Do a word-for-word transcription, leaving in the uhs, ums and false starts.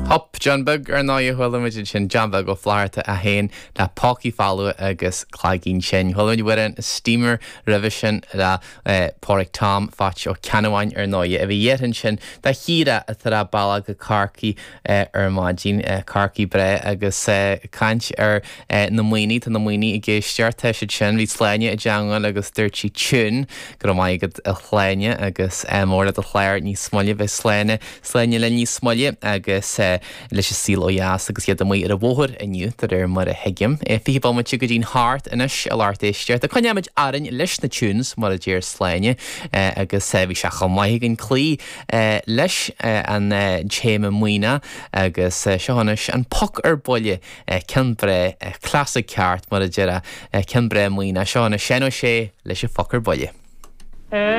Hop John Beag ar ndóigh chuala muid sin John Beag Ó Flatharta a haon le Pócaí Folamha agus Cloigín Tinn. Chuala muid an Steamer roimhe sin le eh, Pádraig Tom Phatch Ó Ceannabháin ar ndóigh a bhí dhéan sin de híre atá balla go Corcaigh eh, ar maidin eh, Corcaigh breá agus caint ar na maoine tá na maoine i géistear tá siad sin bhí Sláine i dteagmháil agus dúirt sí tune go raibh maith agat a Shláine agus mór le do chlár níos moille bheith Sláine Sláine le níos moille agus leis an Saol Ó Dheas agus iad amuigh ar an bhóthar inniu de réir mar a thuigim. Fiche bomaite go dtí'n hocht anois a lucht éisteachta. Coinneoimid orainn leis na tunes mar a deir Sláine agus bhí sé chomh maith againn cloí leis an téama maoine agus seo anois an Poc ar Buile ceann breá classic ceart mar a deir ceann breá maoine seo anois Seán Ó Sé leis an Phoc ar Buile.